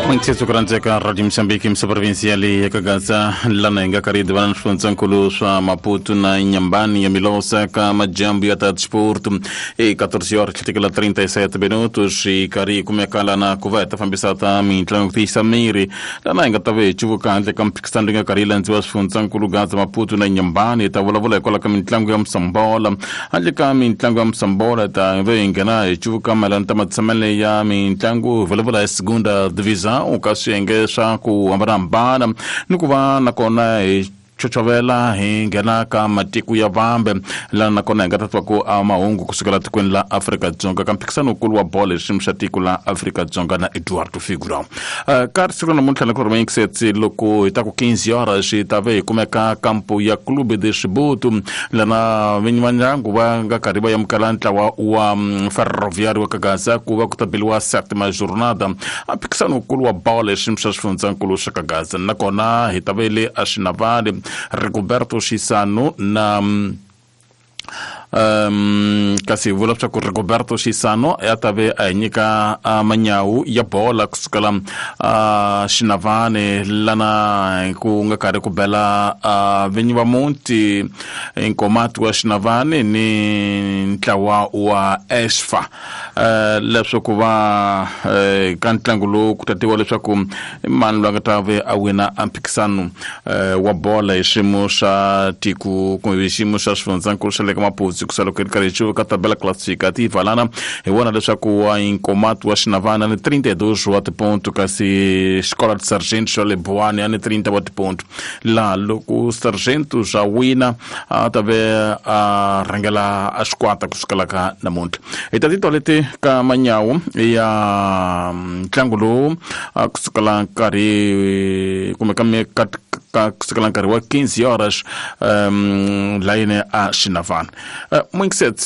Mwinksetso ku rhandzeka Radio Mozambique misa provinsia leyi ya Kagaza lana hi nga karhi hi divana na swifundzankulu swa Maputo na Inhambane ya Milosa ka majambu ya ta disporto e 14 horas tlhetekela 37 minutos hi karhi hi kumeka lana ku va hi ta fambisa ta mitlangu ku tiyisa miri lana hi nga ta va hi cuvuka handle ka mphikisano leyi nga karhi yi landziwa swifundzankulu Gaza Maputo na Inhambane hi ta vulavula hikwalaho ka mitlangu ya musambola handle ka mitlangu ya musambola ta va hi nghena hi cuvuka mayelana ta matshamele ya mitlangu hi vulavula hi segunda divisão ka swiyenge swa ku hambanahambana ni ku va nakona hi chochovela hi nghena ka matiko ya vambe lana nakona hi nga ta twa ku a mahungu kusukela tikweni la Afrika-Dzonga ka mphikisano wukulu wa bolo hi xiyimo xa tiko la Afrika-Dzonga na Eduardo Figura. Ka siku ra namuntlha loko ri yingisetsi loko hi ta ku 15 horas hi ta ve hi kumeka kampo ya Clube de Chibuto lana vinyi va ndyangu va nga karhi va amukela ntlawa wa Ferroviário wa Kagaza ku va ku ta beliwa septima jornada a mphikisano wukulu wa bolo hi xiyimo xa xifundzankulu xa Kagaza nakona hi ta ve le a Xinavane Rigoberto Xisano na kasi hi vula leswaku Rigoberto Xisano ya ta ve a hi nyika manyawu ya bola kusukela Xinavane lana ku nga karhi ku bela vinyi va muti Nkomati wa Xinavane ni ntlawa wa Esfa leswaku va ka ntlangu lowu ku ta tiviwa leswaku i mani loyi a nga ta ve a wina a mphikisano wa bola hi xiyimo xa tiko kumbe hi xiyimo xa xifundzankulu xa le ka Maputsu ku loko yi ri karhi yi cuvuka tabela classificativa lana hi vona leswaku wa Nkomati wa Xinavane a ni 32 wa tiponto kasi Xikola de Sargento xa le Buwani a ni 30 wa tiponto laha loko Sargento swa wina a ta ve a rhangela a xikwata kusukela ka namuntlha hi ta titwa leti ka manyawu ya ntlangu lowu kusukela nkarhi kumbe ka ka kusukela nkarhi wa 15 horas layini a Xinavana. Mwingiset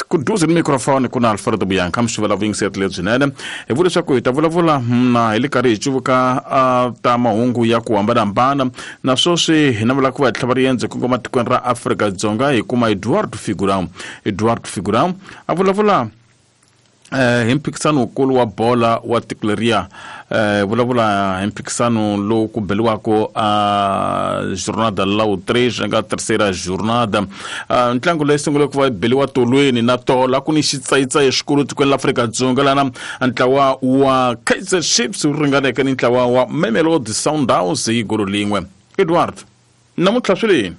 ku duze ni microphone ku na Alfredo Buyanka mi xivela vuyingiseti lebyinene hi vula leswaku hi ta vulavula na hi le karhi hi cuvuka ta mahungu ya ku hambanahambana na sweswi hi navela ku va hi tlhava riendzo kongoma tikweni ra Afrika-Dzonga hi kuma Eduardo Figurão. Eduardo Figurão a vulavula hi mphikisano wukulu wa bola wa tiko leriya vulavula hi mphikisano lowu ku beliwaka a jornada la 3 nga terceira jornada. Ntlangu leyi sungule ku va beliwa tolweni na tola ku ni xitsayitsayi xikulu tikweni la Afrika-Dzonga lana ntlawa wa Kaizer Chiefs wu ringaneke ni ntlawa wa Mamelodi Sundowns hi golo lin'we. Edward, namuntlha swi leni?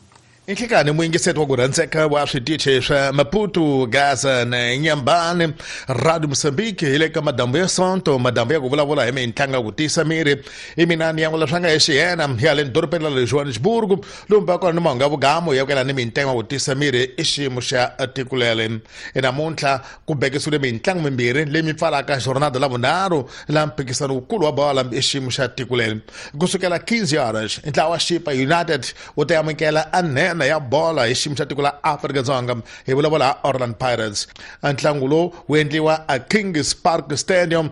Inhlekani muyingiseti wa ku rhandzeka wa switichi swa Maputo, Gaza na Inhambane, Radio Mozambique hi le ka madambu ya Sonto, madambu ya ku vulavula hi mintlangu ya ku tiyisa miri. I mina ni yan'wela swa nga hi xiyena ya le dorobeni ra le Johannesburg, lomu va kona ni mahungu ya vugamu ya ku yelana ni mintlangu ya ku tiyisa miri i xiyimo xa tiko leri. Namuntlha ku bekisiwile mintlangu mimbirhi leyi mi pfalaka jornada la vunharhu la mphikisano wukulu wa bola i xiyimo xa tiko leri. Kusukela 15 horas, ntlawa wa Chippa United wu ta amukela a nhenha ya bola hi xiyimo xa tiko la Afrika-Dzonga, hi vulavula ha Orlando Pirates. Ntlangu lowu wu endliwa a Kings Park Stadium.